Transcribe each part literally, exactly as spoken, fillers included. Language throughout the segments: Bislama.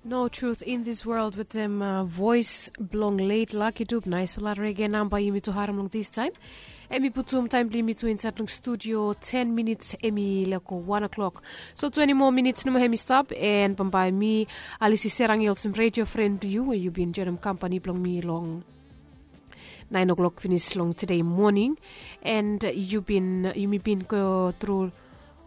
No Truth in This World wetem vois blong leit Lucky Dube. Naisfala rege namba yumi tu harim long this taim. Em i putum taim blong yumi tu insait long studio ten minits, em i leko wan o'clock. So twenty moa minits nomo em i stap, and bambae mi, Alisi Serang, i olsem redio fren blong yu we yu bin joinim kampani blong mi long nine o'clock finis long tude moning. And yu bin yumi bin go tru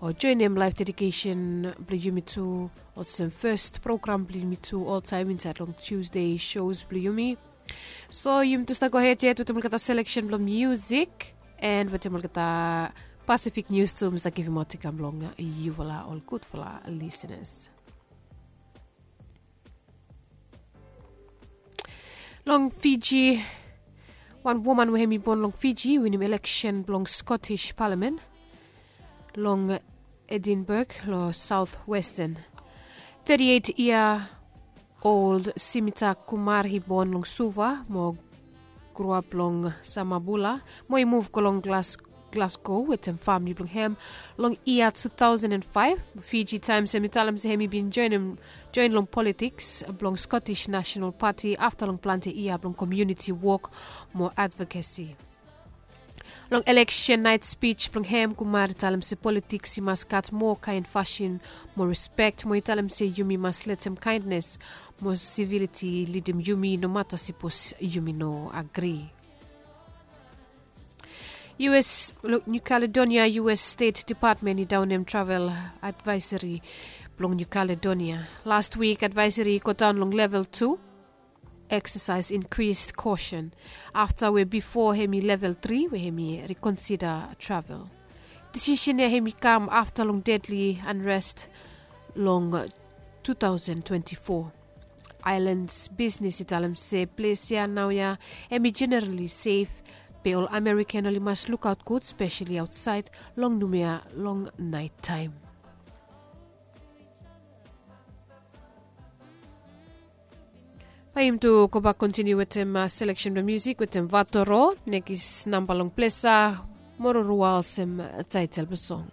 o joinim laif dedikesen blong yumi tu olsem fes program blong yumi tu oltaim insait long Tuesday shows blong yumi. So yumi tu stap gohed yet wetem olgeta seleksen blong musik, and wetem olgeta Pacific News tu mi sa givim ot i kam long yufala ol gudfala lisenas. Long Fiji, wan woman we hem i bon long Fiji i winim eleksen blong Scottish Palamen long Edinburgh long South Western. Thirty-eight year old Simita Kumar i bon long Suva mo groap long Samabula mo i muv go long Glasgow wetem famili blong hem long yia two thousand and five. Fiji Times hem i talem se hem i bin join long politiks blong Scottish National Party afta long plante yia blong komuniti wok mo advokesi. Long eleksen nait spij blong hem, Kumar i talem se politiks i mas gat moa kaen fasin mo rispek mo i talem se yumi mas letem kaendnes mo siviliti lidim yumi nomata sipos yumi no agri. U S, New Caledonia U S State Department i daonem travel advaeseri blong New Caledonia. Last wik advaeseri i godaon long level tu. Exercise increased caution afta we bifo hem i level tri we hem i rikonsida travel. Disisen ya hem i kam afta long dedli anrest long two thousand twenty-four. Aelan bisnes i talem se ples ya naoia hem i jenerali sef, be ol Amerikan oli mas lukaot gud spesali aotsaed long numia long naitaem. Bae yumi tu gobak kontiniu wetem seleksen blong musik wetem Vatoro, nekis namba long plesa, Mororua olsem taetel blong song.